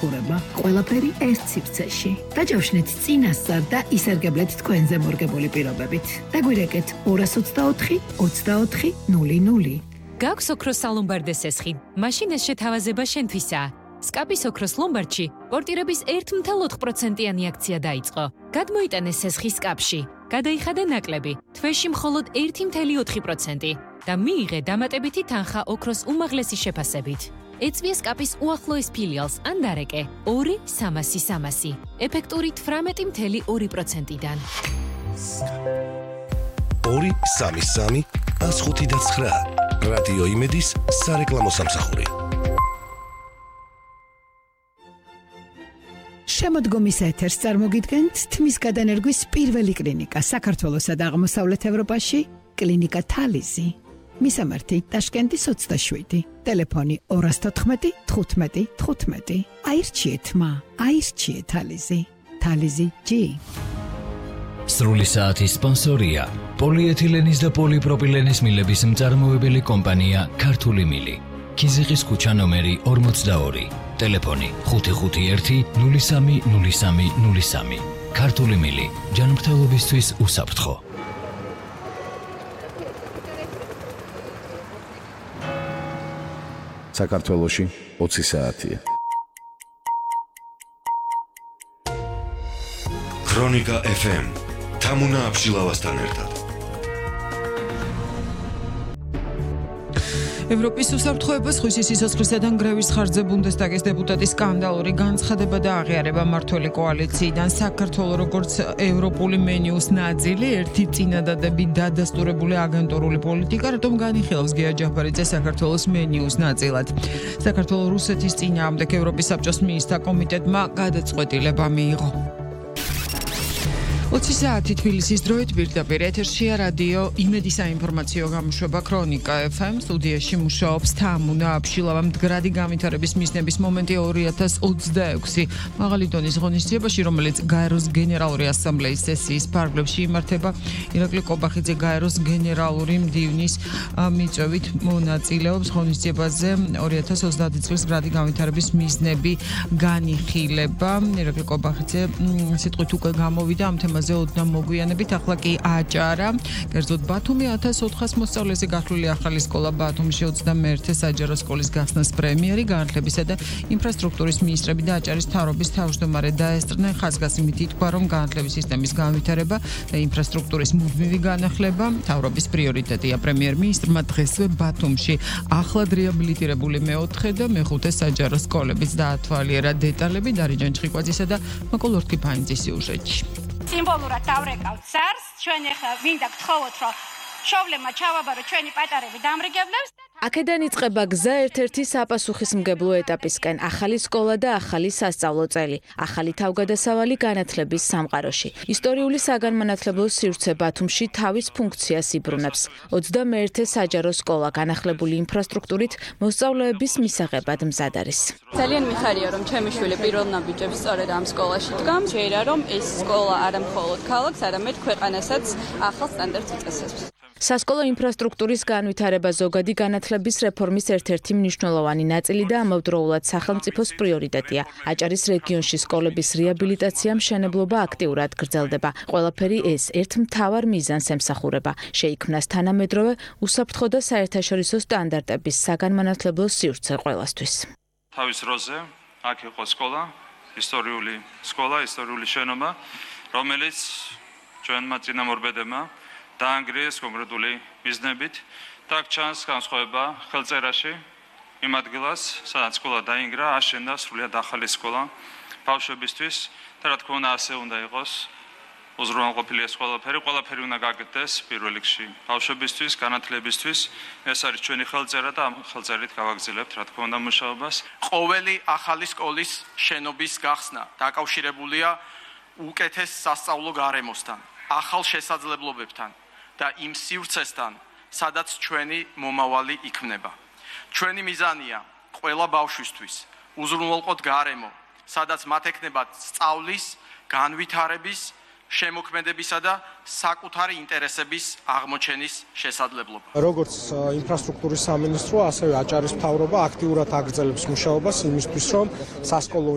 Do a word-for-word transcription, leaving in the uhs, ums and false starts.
სამსახურება, ყველაფერი ერთ სივრცეში. დაჯავშნეთ წინასწარ და ისარგებლეთ თქვენზე მორგებული პირობებით. დაგვირეკეთ ორას ოცდაოთხი ოცდაოთხი ნული ნული. გაქვს ოქროს სალომბარდე სესხი. მაშინ ეს შეთავაზება შენთვისაა. სკაპის ოქროს ლომბარდში პორტირების ერთი წუთი ოთხ პროცენტიანი აქცია დაიწყო. გადმოიტანეს სესხი სკაპში. გადაიხადა ნაკლები, თვეში მხოლოდ ერთი წუთი ოთხ პროცენტი და მიიღე დამატებითი თანხა ოქროს უმაღლესი შეფასებით. ეწვია სკაპის უახლოეს ფილიალს ან დარეკე ორი სამასი სამასი, ეფექტური თვრამეტი წუთი ორი პროცენტიდან. ორი სამი სამი ას ხუთი და ცხრა. რადიო იმედის სარეკლამო სამსახური. შემოდგომის ეთერს წარმოგიდგენთ თმის გადანერგვის პირველი კლინიკა საქართველოსა და აღმოსავლეთ ევროპაში, კლინიკა თალიზი. მისამართი ტაშკენტის ოცდაშვიდი, ტელეფონი ორას თოთხმეტი თხუთმეტი თხუთმეტი. აირჩიეთ მა, აირჩიეთ თალიზი. თალიზი ჯი. სრული საათის სპონსორია პოლიეთილენის და პოლიპროპილენის მილების მწარმოებელი კომპანია ქართული მილი. ქიზიყის ქუჩა ნომერი ორმოცდაორი. ტელეფონი ხუთი ხუთი ერთი ნული სამი ნული სამი ნული სამი. ქართული მილი ჯანმრთელობისთვის უსაფრთხო. საქართველოში ოცი საათია. ქრონიკა ეფ ემ თამუნა აბშილავასთან ერთად. ევროპის უსაფრთხოებას ხვის სიცოცხლისა და ნგრევის ხარჯზე ბუნდესტაგის დეპუტატის სკანდალური განცხადება და აღიარება მმართველი კოალიციიდან. საქართველოს როგორც ევროპული მენიუს ნაწილი, ერთი წინადადებით დადასტურებული აგენტურული პოლიტიკა, რატომ განიხილავს გია ჯაფარიძე საქართველოს მენიუს ნაწილად. საქართველოს რუსეთის წინააღმდეგ ევროპის საბჭოს მინისტრთა კომიტეტმა გადაწყვეტილება მიიღო. ოცი საათი თბილისის დროით პირდაპირ ეთერშია რადიო იმედის საინფორმაციო გამოშვება ქრონიკა ეფ ემ. სტუდიაში მუშაობს თამუნა აბშილავა. მდგრადი განვითარების მიზნების მომენტი ორი ათას ოცდაექვსი მაღალი დონის ღონისძიებაში, რომელიც გაეროს გენერალური ასამბლეის სესიის ფარგლებში იმართება. ირაკლი კობახიძე გაეროს გენერალური მდივნის მიწვევით მონაწილეობს ღონისძიებაზე. ორი ათას ოცდაათი წლის მდგრადი განვითარების მიზნები განიხილება. ირაკლი კობახიძე სიტყვით უკვე გამოვიდა ამ თემაზე ოდნავ მოგვიანებით, ახლა კი აჭარა. კერძოდ ბათუმი ათას ოთხას მოსწავლეზე გათვლილი ახალი სკოლა ბათუმში ოცდამეერთე საჯარო სკოლის გახსნას პრემიერი, განათლებისა და ინფრასტრუქტურის მინისტრები და აჭარის მთავრობის თავმჯდომარე დაესწრნენ. ხაზგასიმით ითქვა, რომ განათლების სისტემის განვითარება და ინფრასტრუქტურის მუდმივი განახლება მთავრობის პრიორიტეტია. პრემიერ-მინისტრმა დღესვე ბათუმში ახლად რეაბილიტირებული მეოთხე და მეხუთე საჯარო სკოლებიც დაათვალიერა. დეტალები დარიჯან ჩხიკვაძისა და მაკოლ ორთქიფანიძის სიუჟეტში. სიმბოლურად დავრეკავთ სარს, ჩვენ ახლა მინდა გთხოვოთ, რომ შოვლემა ჩავაბარო ჩვენი პატარები დამრიგებლებს. აქედან იწყება გზა ერთ-ერთი საპასუხისმგებლო ეტაპისკენ, ახალი სკოლა და ახალი სასწავლო წელი, ახალი თავგადასავალი განათლების სამყაროში. ისტორიული საგანმანათლებლო სივრცე ბათუმში თავის ფუნქციას იბრუნებს. ოცდამეერთე საჯარო სკოლა განახლებული ინფრასტრუქტურით მოსწავლეების მისაღებად მზად არის. ძალიან მიხარია, რომ ჩემი შვილი პირველ ნაბიჯებს სწორედ ამ სკოლაში დგამს. შეიძლება რომ ეს სკოლა არა მხოლოდ ქალაქს, არამედ ქვეყანასაც ახალ სტანდარტს უწესებს. სასკოლო ინფრასტრუქტურის განვითარება ზოგადი განათლების რეფორმის ერთ-ერთი მნიშვნელოვანი ნაწილი და ამავდროულად სახელმწიფოს პრიორიტეტია. აჭარის რეგიონში სკოლების რეაბილიტაცია, მშენებლობა აქტიურად გრძელდება. ყველაფერი ეს ერთ მთავარ მიზანს ემსახურება. შეიქმნას თანამედროვე უსაფრთხო და საერთაშორისო სტანდარტების საგანმანათლებლო სივრცე ყველასთვის. თავის როზე აქ იყო სკოლა, ისტორიული სკოლა, ისტორიული შენობა, რომელიც ჩვენმა წინამორბედებმა დაანგრიეს კონკრეტული მიზნებით და ჩანს განსხვავება ხელწერაში იმ ადგილას, სადაც სკოლა დაინგრა, აშენდა სრულიად ახალი სკოლა ბავშვებისთვის და რა თქმა უნდა ასე უნდა იყოს. უზრუნველყოფილი ეს ყველაფერი, ყველაფერი უნდა გაკეთდეს პირველ რიგში ბავშვებისთვის, განათლებისთვის. ეს არის ჩვენი ხელწერა და ამ ხელწერით გავაგრძელებთ რა თქმა უნდა მუშაობას. ყოველი ახალი სკოლის შენობის გახსნა დაკავშირებულია უკეთეს სასწავლო გარემოსთან, ახალ შესაძლებლობებთან და იმ სივრცესთან, სადაც ჩვენი მომავალი იქმნება. ჩვენი მიზანია ყველა ბავშვისთვის უზრუნველყოთ გარემო, სადაც მათ ექნებათ სწავლის, განვითარების, შემოქმედებისა და საკუთარი ინტერესების აღმოჩენის შესაძლებლობა. როგორც ინფრასტრუქტურის სამინისტრო, ასევე აჭარის მთავრობა აქტიურად აგრძელებს მუშაობას იმისთვის, რომ სასკოლო